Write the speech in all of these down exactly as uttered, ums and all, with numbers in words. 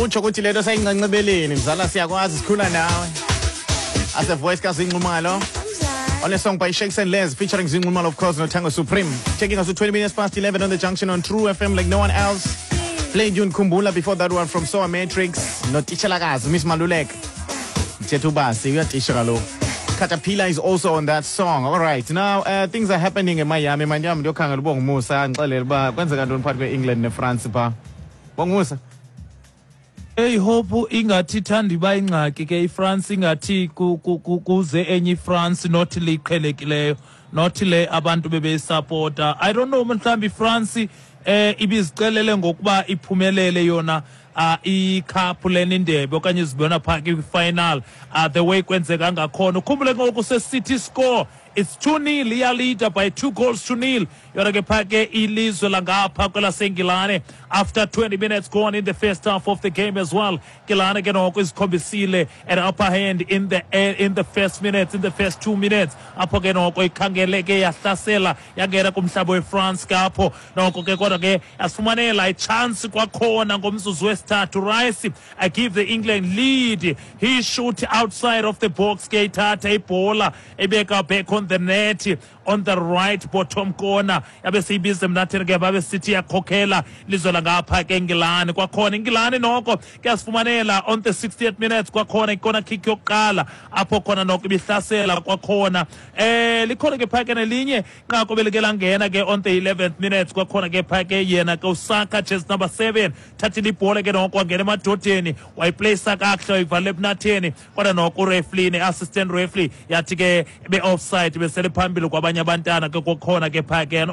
Utsho ukuthi lento sayincancebeleni mzala, siyakwazi, sikhula nawe. As a voice kaZee Nxumalo on a song by Shakes and Les featuring Zee Nxumalo, of course, no Tango Supreme. Taking us to twenty minutes past eleven on The Junction on True F M like no one else. Played you Kumbula before that one from Soa Matrix. No Tichalagaz, Miss Malulek. Chetubasi, uyatisha kaloku. Caterpillar is also on that song. All right, now uh, things are happening in Miami. Miami ndiyokhangela uBongumusa andixelele uba kwenzeka ntoni phakathi kwe-England neFrance phaa. Bongumusa. Hey Hope, ingathi ithanda iba ingxaki ke iFrance, ingathi kuze enye iFrance not liqhelekileyo, not le abantu bebeyisupporta. I don't know, mhlawumbi iFrance eh ibizicelele ngokuba iphumelele yona uh, icup lena, indebe, okanye izibona phaa kwi-final, uh, the way kwenzeka ngakhona. Ukhumbule ngoku se-City score, it's two nil, iyaleada by two goals to nil yona ke phaa ke ilizwe langapha kwelasengilane after twenty minutes gone in the first half of the game as well. Ngilane ke noko izikhombisile an upper hand in the in the first minutes, in the first two minutes, apho ke noko ikhangeleke yahlasela, yangena kumhlaba weFrance ke apho noko ke, kodwa ke yasifumanela ichance kwakhona ngomzuzu wesithathu. Rice, I give the England lead. He shoot outside of the box ke, ithatha ibhola ebeka back on the net on the right bottom corner, yabe seyibiza emnatheni ke, babe sithi yakhokhela lizwe langapha ke Engilani. Kwakhona Ingilani noko kuyasifumanela on the sixtieth minutes kwakhona icorner kick yokuqala, apho khona noko ibihlasela kwakhona. eh likhona ke phake nelinye inqaku belike langena ke on the eleventh minutes kwakhona ke phake yena ke uSaka, jersey number seven, thathile ibhola ke noko, wangena emadodeni, wayiplacea kakuhle, wayivala ebunatheni, kodwa noko ureferee, assistant referee, yathi ke be-offside, besele phambili kwabanye abantwana ke. Kwakhona ke phake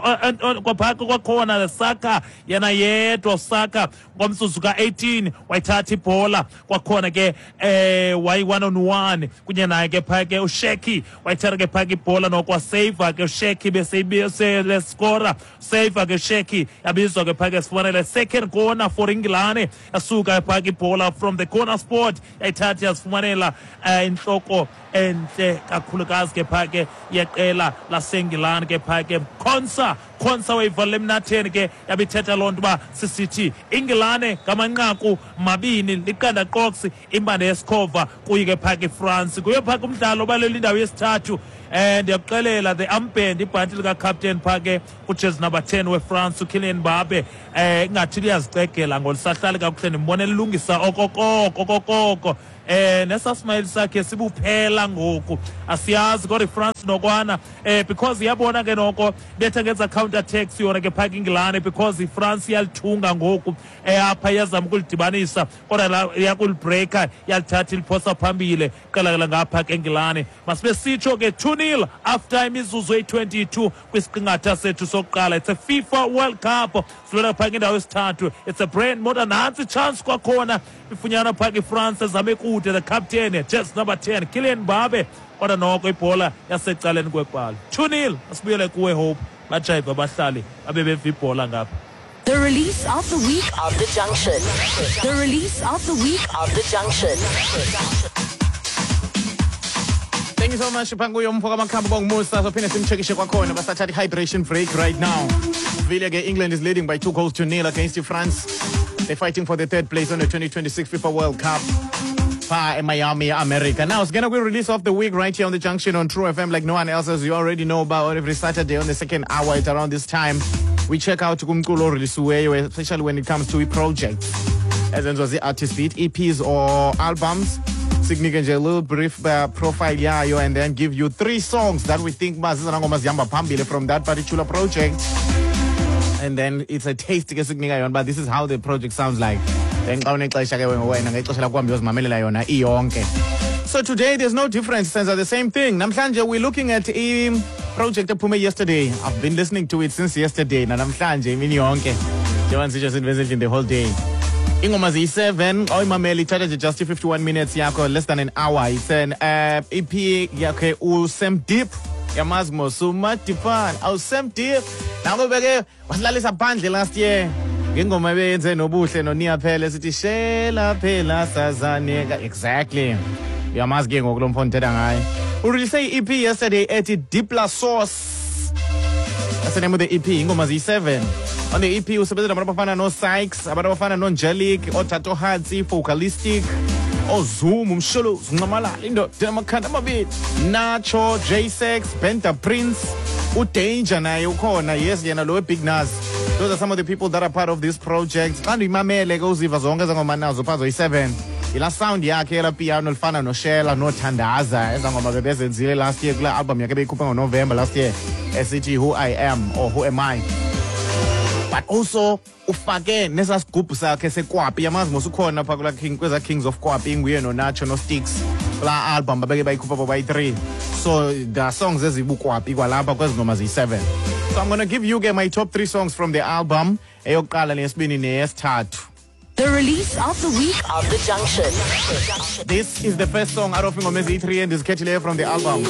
kwaphake kwakhona Saka yena yedwa, Saka ngomzuzu ka-eighteen wayithatha ibhola kwakhona ke, eh wayi one on one kunye naye ke phake uSheki, wayithatha ke phake ibhola noko, wasave ke uSheki, bese score, save ke Sheki, yabizwa ke phake sifumanele second corner for Ingilane. Yasuka phake ibhola from the corner spot, yayithatha, yasifumanela uh, inhloko enhle kakhulukazi ke phake yeqela laseNgilani ke phake Konsa Konsa wayivalela emnatheni ke, yabithetha loo nto uba sisithi Ingilane ngamanqaku mabini liqanda qoksi imbande yesikhova kuyi ke phake iFrance. Kuyo phake umdlalo obalela indawo yesithathu. eh ndiyakuxelela, the armband, ibhanti lika-captain phake kujezi number ten weFrance, uKylian Mbappe, eh ingathi liyazicegela ngolisahlali kakuhle, ndimbone lilungisa okokoko okokoko, eh nesasmayile sakhe sibuphela ngoku, asiyazi. Kodwa iFrance nokwana, eh because iyabona ke noko betha ngenza counter attacks yona ke phaka Ingilane, because iFrance iyalithunga ngoku, eh apha iyazama ukulidibanisa, kodwa la iyakulibreaker, iyalithatha, iliphosa phambili qela ngapha ke Engilane. Masibe sitsho ke two nil after imizuzu eyi-twenty-two kwisiqingatha sethu sokuqala. It's a FIFA World Cup, silwela phaka indawo yesithathu. It's a brand modern. Nantsi chance kwakhona ifunyanwa phaka iFrance, ezame kude, the captain, jersey number ten, Kylian Mbappe, kodwa noko ibhola yasecaleni kwepali. two nil. Asibuyele kuwe Hope, bajayiva abahlali babe beva ibhola ngapha. The release of the week of The Junction. The release of the week of The Junction. Thank you so much, Phanguyo umfo kaMakhambo Bongumusa. Sophinde simcheckishe kwakhona, basathatha i-hydration break right now. Vile ke England is leading by two goals to nil against France. They're fighting for the third place on the twenty twenty-six FIFA World Cup pha in Miami, America. Now, it's gonna be release of the week right here on The Junction on True F M like no one else, as you already know about. Every Saturday on the second hour at around this time, we check out kumculo oreleasiweyo, especially when it comes to projects ezenziwa zii-artists, be it E Ps or albums. Sikunike nje a little brief uh, profile yayo and then give you three songs that we think uba zizona ngoma zihamba phambili from that particular project, and then it's a taste ke sikunika yona, but this is how the project sounds like. Then xa unexesha ke wena, ngexesha lakho, uhambe uyozimamelela yona iyonke. So today there's no difference, senza the same thing. Namhlanje we're looking at i project ephume yesterday. I've been listening to it since yesterday, nanamhlanje imini yonke, njengoba ndisitsho sindiveze the whole day. Ingoma ziyi-seven. Xa uyimamela ithatha nje just i-fifty-one minutes yakho, less than an hour. It's an uh, E P yakhe uSam Deep. Yamazi mos uMadifana, awuSam Deep nako beke wasilalisa phandle last year ngengoma ebeyenze noBuhle noNia phela, sithi shela phela sazaneka. Exactly, uyamazi ke ngoku lo mfo ndithetha ngaye. Urelease i-E P yesterday ethi Deep La Source. That's the name of the E P. Ingoma ziyi-seven on the E P. Usebenza nabantu abafana no-Sykes, abantu abafana no-Angelic, ooTato Hatsi, Focalistic, oZoom, uMsholozi, uNxamalala, indoda amakhanda amabili, Nacho, J six, Benta Prince, uDanger naye ukhona. Yes, yena lo Big Nas. Those are some of the people that are part of this project. Xa ndiyimamele ke, uziva zonke ezangoma nazo phaa zoyi-seven, yilaa sound yakhe elaa piano lifana noShela noThandaza, ezaa ngoma bebezenzile last year kulaa album yakhe beyikhuphe ngoNovember last year esithi Who I Am or Who Am I. But also ufake nesaa sigubhu sakhe sekwapi, yamazi mos, ukhona phaa kulaa king, kwezaa Kings of Kwapi, inguye noNacho noSticks kulaa album babeke bayikhupha bobayi-three. So there are songs ezibukwapi kwalapha kwezi ngoma ziyi-seven. So I'm gonna give you ke my top three songs from the album, eyokuqala, neyesibini, neyesithathu. The release of the week of The Junction. This is the first song out of ingoma eziyi-three endizikhethileyo from the album.